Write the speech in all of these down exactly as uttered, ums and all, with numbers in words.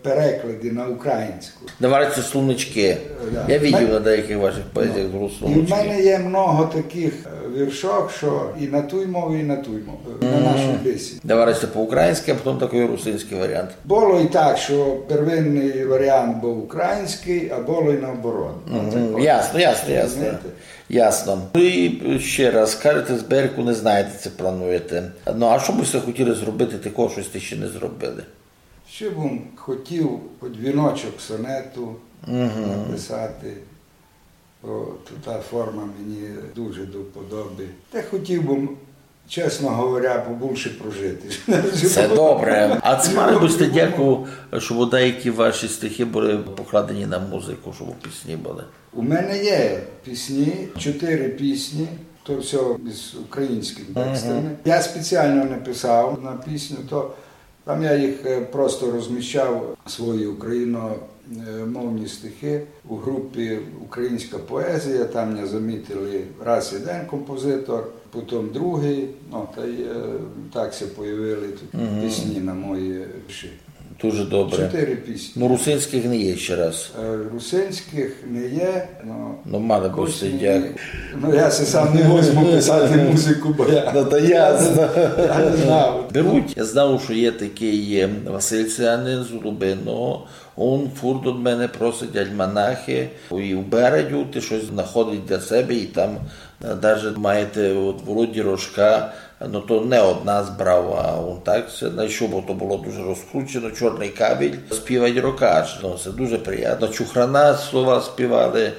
переклади на українську. Давайте словнички. Да. Я видів на деякых вашых поезіях зрос словнички. І в мене є много такых, е, віршок, што і на туй мові, і на туй мові, на нашій бесіді. Давайте по-українськы, а потом такый русинськый варіант. Было і так, што первинный варіант быв українськый, а было і наоборот. Ну, так от. Ясно, ясно, ясно. Розумієте? Ясно. Ну і ще раз, кажете, збірку не знаєте, ци плануєте. Ну, а што бы сте хотіли зробити такого, што сте ще не зробили? Ще бым хотів хоч віночок сонету написати, бо то та форма мені дуже до вподоби. Та хотів бым, чесно говоря, побульше прожити. Се добре. А ци мали бы сте дяку, што деякі ваші стихи были покладені на музику, што пісні были? У мене є пісні, чотири пісні, то всьо з українськыми текстами. Я спеціално не писав на пісню, то там я їх, е, просто розміщав, свої україномовні стихи у групі «Українська поезія». Там мене замітили раз єден композитор, потім другый, ну, та й, е, так ся появили тут пісні на мої вірші. Дуже добре. Чотири пісні. Ну, русинськых не є ще раз. Е, русинськых не є, но... Ну, мали бы сте дяку. Ну, я си сам не возьму писати музику, бо я... Ну, то ясно. Я не знав. Беруть. Я знав, што є такый, е, Василь Селянин з Лубиного. Он фурт од мене просить альманахи. І в Бередю ти штось знаходить для себе, і там, е, даже маєте от Володі Рожка, ну, то не од нас брав, а он так ся знайшов, бо то было дуже розкручено, «Чорный кабель», співать Рокаш. Ну, се дуже приємно. Чухрана слова співали,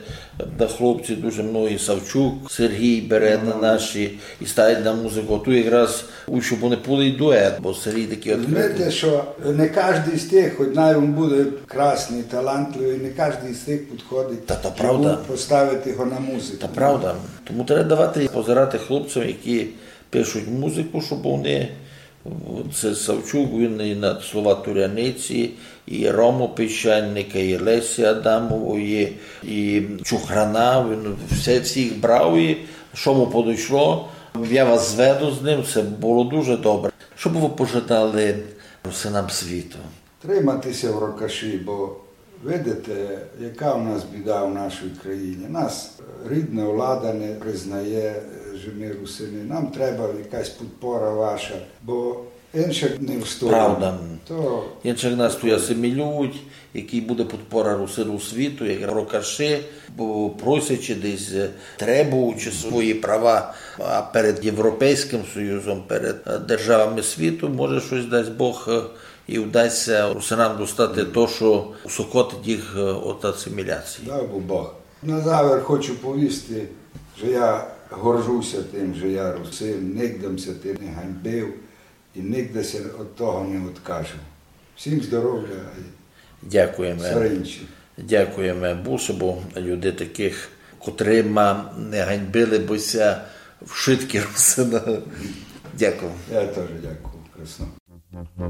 та хлопці дуже многі, Савчук, Сергій Береза наші, і ставлять на музику. Ту якраз у, щоб вони були і дует, бо Сергій такый відкрытый. Знаєте, што не каждый з тых, хоч най он буде красный, талантливый, не каждый з тых підходить, щоб поставити його на музику. Та правда. Тому треба давати позирати хлопцям, які пишуть музику, щоб вони, це Савчук, він і на слова Туряниці, і Рому Піщаника, і Лесі Адамової, і Чухрана, він все, всіх брав, і што му подойшло, я вас зведу з ним, се было дуже добре. Што бы вы пожадали русинам світу? Тримати ся в Рокаші, бо видите, яка у нас біда у нашій країні. Нас рідна влада не признає, же ми русини. Нам треба якась підпора ваша, бо інше не встоїть. Правда. То інше нас туй асимілюють, який буде підпора русин у світу, як Рокаші, бо просячи десь, е, требуючи свої права, а перед Європейським Союзом, перед, е, державами світу, може штось, дасть Бог, е, і вдасть ся русинам достати то, што усокотить їх, е, од асиміляції. Дав бы Бог. На завер хочу повісти, же я горжу ся тым, же я русин, нигде м ся тым не ганьбив і нигде ся од того не откажу. Всім здоровя і всьо інше. Дякуєме. Дякуєме Богу, бо людей такых, котрыма не ганьбили бы ся вшыткі русины. Дякую. Я тоже дякую. Красно.